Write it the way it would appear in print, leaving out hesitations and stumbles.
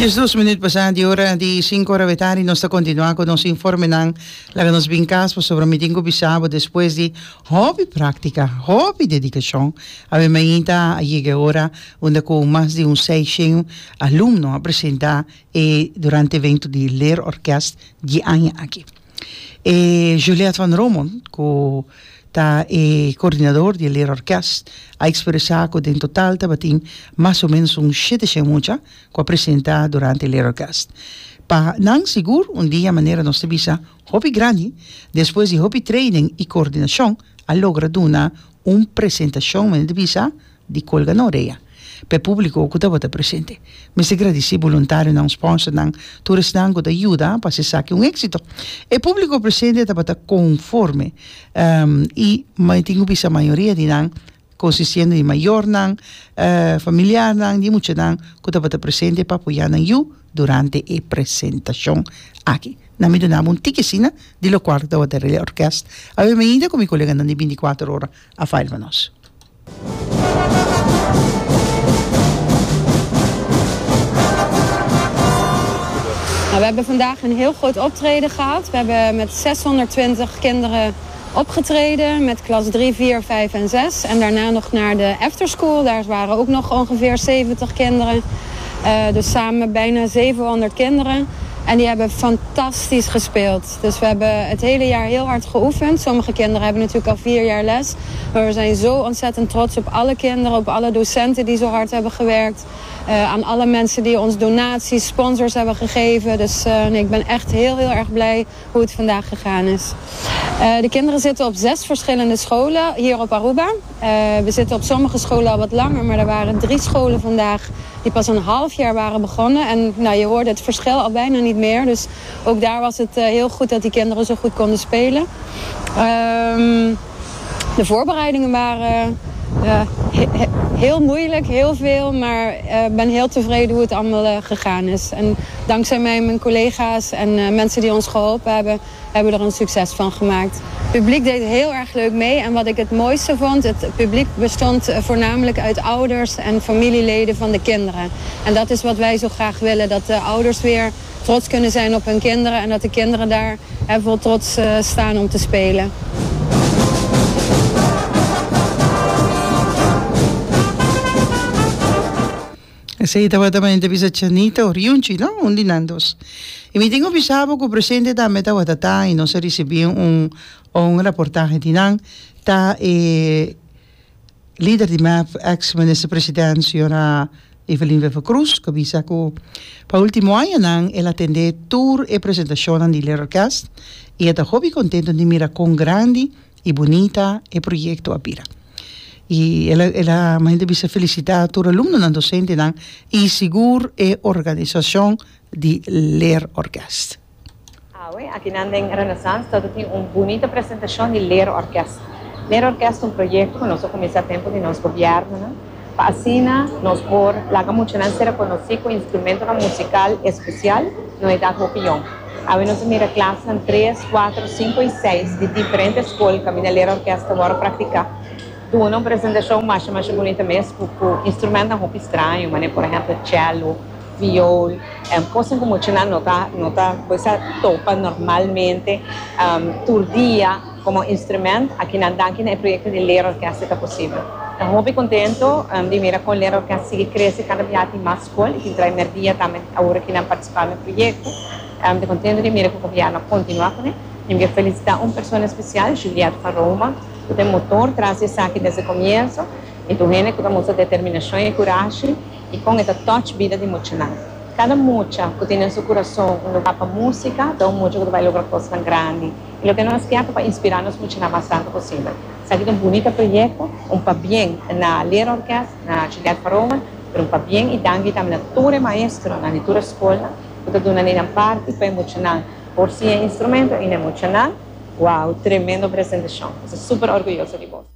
12 minuut pasá di ora di 5 ora betari nos ta kontinuá ku nos informenan. Laga nos bin kas pasobra mi tin ku bisa bo despues di hopi práktika, hopi dedikashon, awe mainta a yega e ora unda ku mas di un 600 alumno a presentá e durante evento di Leerorkest di aña aki. E Juliette van Romondt ku ta e koordinador di e Leerorkest a ekspresá ku den total tabatin mas o ménos un 700 mucha ku a presentá durante e Leerorkest. Pa nan sigur un dia manera nos ta bisa hopi grandi despues di hopi training i koordinashon a logra duna un presentashon manera ta bisa di kolga na orea pa e públiko ku tabata presente. Mester gradisí boluntarionan, spònsernan, tur esnan ku ta yuda pa hasi esaki un éksito. E públiko presente tabata konforme i mi tin ku bisa mayoria di nan konsistiendo di mayornan, familiarnan di muchanan ku tabata presente pa apoyá nan yu durante e presentashon aki. Nan mi duna bo un tiki asina di lokual ku tabata rei orkest. Awe mainta ku mi koleganan di bintikuater ora a fail pa nos. Nou, we hebben vandaag een heel groot optreden gehad. We hebben met 620 kinderen opgetreden met klas 3, 4, 5 en 6. En daarna nog naar de afterschool. Daar waren ook nog ongeveer 70 kinderen. Uh, dus samen bijna 700 kinderen. En die hebben fantastisch gespeeld. Dus we hebben het hele jaar heel hard geoefend. Sommige kinderen hebben natuurlijk al vier jaar les. Maar we zijn zo ontzettend trots op alle kinderen, op alle docenten die zo hard hebben gewerkt. Uh, aan alle mensen die ons donaties, sponsors hebben gegeven. Dus uh, nee, ik ben echt heel, heel erg blij hoe het vandaag gegaan is. Uh, de kinderen zitten op zes verschillende scholen hier op Aruba. we zitten op sommige scholen al wat langer, maar er waren drie scholen vandaag die pas een half jaar waren begonnen. En nou, je hoorde het verschil al bijna niet meer. Dus ook daar was het heel goed dat die kinderen zo goed konden spelen. Um, de voorbereidingen waren uh, he heel moeilijk, heel veel. Maar ik uh, ben heel tevreden hoe het allemaal uh, gegaan is. En dankzij mij en mijn collega's en mensen die ons geholpen hebben, hebben we er een succes van gemaakt. Het publiek deed heel erg leuk mee. En wat ik het mooiste vond, het publiek bestond voornamelijk uit ouders en familieleden van de kinderen. En dat is wat wij zo graag willen, dat de ouders weer trots kunnen zijn op hun kinderen en dat de kinderen daar vol trots staan om te spelen. Esei tabata pa entrevista Chanita Oriunchi, no? Un di nan dos. I mi tin ku bisa bo ku presente tambe tabata ta i nos a risibí un un raportahe di nan, ta e lider di mep, ex minister president señora Evelyn Wever-Croes ku a bisa ku pa ultimo añanan el a tende tur e presentashonnan di Leerorkest i e ta hopi kontento di mira kon grandi i bunita e proyekto a bira. I el a el a manera di bisa felisitá tur alumnonan, dosentenan i sigur e organisashon di Leerorkest. Awe, akinan den Renaissance ta tin un bunita presentashon di Leerorkest. Leerorkest ta un proyekto ku nos a kuminsá tempu di nos gobièrnunan pa asina nos por laga muchanan ser rekonosí ku instrumentonan musikal espesial na un edat hopi yòn. Awe nos a mira klasnan tres, kuater, sinku i seis di diferente skol kaminda Leerorkest ta wòrdu praktiká. Duna un presentashon masha masha bunita mes ku ku instrumentnan hopi straño manera por ehèmpel chèlo, viool, kosnan ku muchanan no ta no ta por topa normalmente tur dia komo instrument. Akinan danki na e proyekto di Leerorkest e ta posibel. Ta hopi kontento di mira kon Leerorkest sigui krese kada bia tin mas skol i tin trae merdia tambe awor ki nan partisipá na e proyekto. Ta kontento di mira ku gobièrnu a kontinuá kuné. Mi ke felisitá un persona espesial, Juliette van Roma, ku ta e motor tras di esaki desde komienso i tur hende ku ta mustra determinashon i kurashi. I kon e ta touch bida di muchanan. Kada mucha ku tin den su kurason un lugá pa músika ta un mucha ku ta bai logra kosnan grandi. I loke nos kier ta pa inspirá nos muchanan mas tantu posibel. Esaki ta un bunita proyekto, un pabien na Leerorkest, na Juliette van Roomen, pero un pabien i danki tambe na tur e maestronan di tur e skolnan ku ta duna ni nan parti pa e muchanan por siña e instrumento i na e muchanan. Wow, tremendo presentashon. Mi ta super orguyoso di bo.